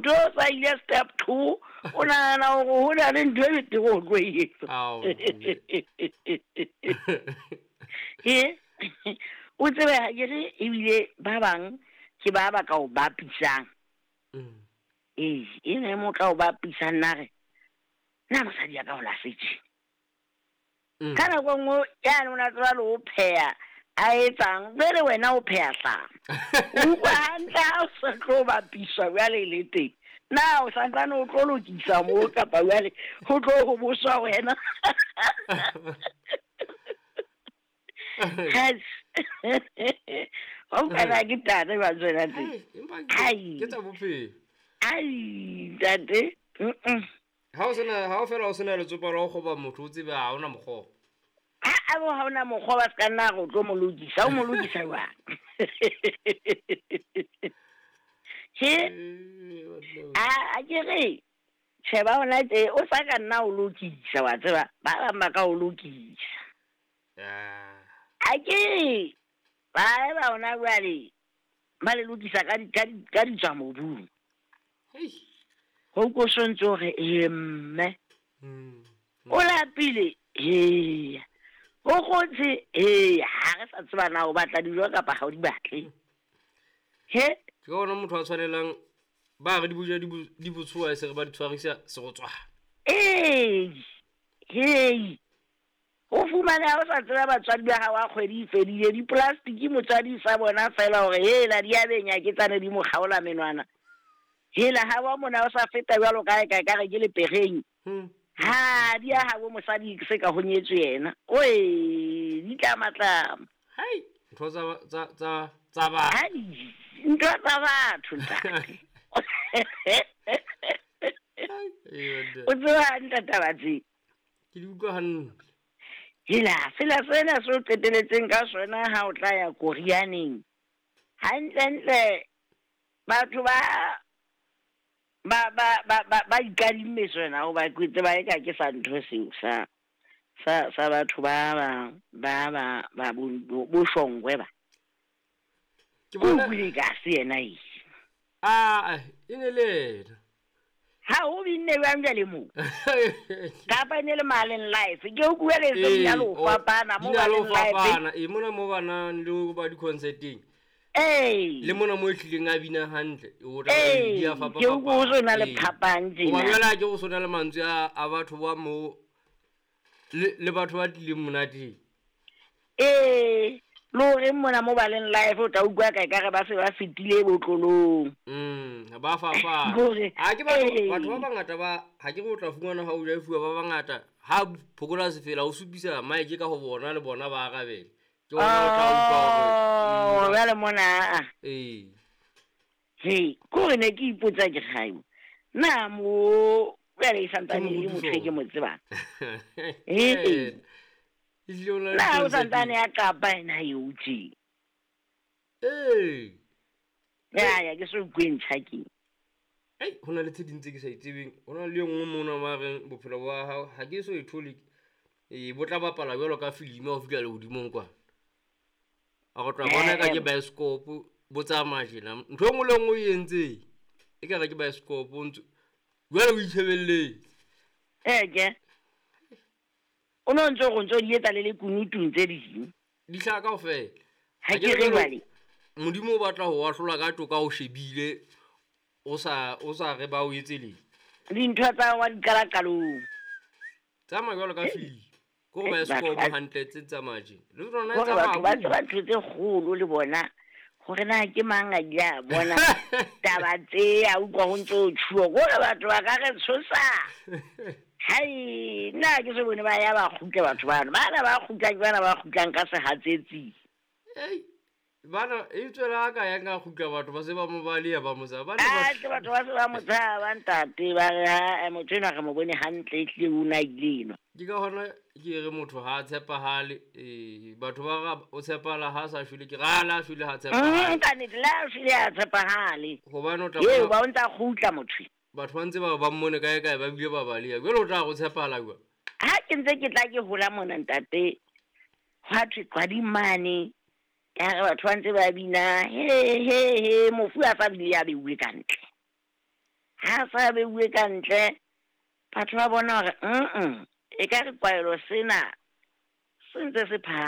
Ntho o sa ile step 2, o nahana hore ho na le ntho e betere o tlo e etsa. Ao, mme. E o tsebe ha ke re ebile ba bang ke ba ba ka o bapisang. Ee, e ne mo tla o bapisang na re na mosadi ya ka o lahletse. Ka nako e nngwe yane o na tseba le ho pheha a etsang jwale wena o pheha hlama. O utlwa hantle ha o sa tlo bapiswa jwale le teng. Na o santsane o tlo lokisa moo kapa jwale ho tlo ho boswa wena? Yes. Wa utlwa na ke tate ba tswela teng. Hai, empa ke Ai. ke tsa bophelo. Ai, ntate. Mm-mm. Ha o sena, ha o fela o sena letsopa la ho kgoba motho, o tsebe ha ona mokgwa. Ha a bo ha ona mokgwa wa ska nna re o tlo mo lokisa, o mo lokisa jwang? He? A ke re tjhe ba hona tje o sa ka nna o lokisa wa tseba, ba bang ba ka o lokisa. A ke re ba eba hona jwale ba le lokisa ka di, ka di, ka di tswa mobung. Hei. Ho ko sontse hore e mme. O lapile, eya. O kgotse, eya. Ha re sa tseba na o batla dijo kapa ha o di batle. He? Ke ona motho a tshwanelang ba re di boja di di botshoa e se re ba di tshwarisa serotswana. Ee. Hei. Ho fumana ha o sa tseba batswadi ba hao a kgwedi e fedile, diplastiki motswadi sa bona fela hore hela di a benya ke tsane di mo kgaola menwana. Hela ha wa mona o sa feta jwalo kae kae ka re ke lepereng. Ha di a habo mosadi se ka ho nyetswe yena. Oe, di tlamatlama. Hai, ntho tsa tsa tsa tsa batho. Hai, ntho tsa batho ntate. O tseba hantle taba tse. Ke di utlwa hantle. Hela, sela sena se o qeteletseng ka sona ha o tla ya Korianeng. Hantlentle batho ba ba ba ba ba ba ikadimme sona hoba ke tseba eka ke sa ntho seo sa sa sa batho ba ba ba ba ba bo bo shongwe ba. Ke bona O buile ka se yena e. Ah, e ne le yena. Ha o binne jwang jwale moo? Kapa e ne le Maleng Life. Ke o bua le tse di na le ho Ee, fapana di mo na le ho Maleng Life. fapana. Ee, mona mo ba nang le ho ba di-concert-eng. Ee. Le mona mo e hlileng a bina hantle, o tla Ee, di a fapafapana. ke utlwa ho so na le Ee. phapang tjena. Hoba jwale ha ke go sona le mantswe a batho ba mo le batho ba tlileng monateng. Ee, le horeng mona mo Baleng Life o tla utlwa ka ekare ba se ba fetile botlolong. Ba fapana. Hore, Ha ke batho, ee. batho ba bangata ba, ha ke re o tla fumana ha o ja fuwa ba bangata, ha phokola sefela o supisa mic ka ho bona le bona ba arabele. Ke hona o tla utlwa hore, Oh, jwale mona, a. Ee. He, ke hore ne ke ipotsa ke re, haebo, na mo jwale e santsane e le motho e ke mo tsebang? Ee. Ehlile o na le Na o di-concert santsane a qapa ena eo tje? Ee. Ya, ya, ke so utlwe ntjha ke. Ei, ho na le tse ding tse ke sa itsebeng. Ho na le e nngwe mona ba reng bophelo ba hao ha ke so e thole. Ee, bo tla bapala jwalo ka filimi ha o fihla lehodimong kwana. A go tla bona ka ke bioscope bo tsamaya tjena. Ntho e nngwe le e nngwe e entseng e ka re ke bioscope o ntso jwale o itjhebelletse. Ee, ke. O no ntso go ntso di etsa le lekunutung tse ding. Di hlaha kaofela. Ha Ha ke ke re re jwale. Modimo o batla ho ahlola ka toka o shebile o sa, o sa re ba o etse leng. Dintho tsa wa di qala qalong. Tsamaya jwalo ka filimi. Ke gore Eh, bioscope batho ba- hantle tse tsamaya tje. Le tsona e Hore tsamaya batho ba haholo. tseba ntho tse kgolo le bona. Hore na ke mang a ile a bona taba tse a utlwa ho ntso ho tjhuwa. Hore batho ba ka re tshosa. Hai, nna ha ke so bone ba ya ba kgutla batho bano. Bana ba kgutlang ke bana ba kgutlang ka sehatsetsi. Ei, bana e tswela ka ya ka kgutla batho ba se ba mo baleha ba mo tshaba. Bana ba Ah, ke batho ba se ba mo tshaba ntate, ba re, ha, motho enwa re mo bone hantle, ehlile o na ile enwa. Ke ka hona ke re motho ha a tshepahale, batho ba ra o tshepahala ha a sa shwele, ke re ha la shwele ha a tshepahale. Ka nnete, le ha a shwele ha a tshepahale. Hobane o tla Eo, bona ba o ntsa kgutla motho. Batho ba ntse ba ba mmone kae kae, ba bile ba baleha. Jwale o tla re o tshepahala jwang? Ha ke ntse ke tla ke hola mona ntate, hwa thwe qwading mane, ya re batho ba ntse ba bina, he, he, he, mofu a sa bile a beuwe ka ntle. Ha sa beuwe ka ntle, batho ba bona hore e ka re kwaelo sena se ntse se.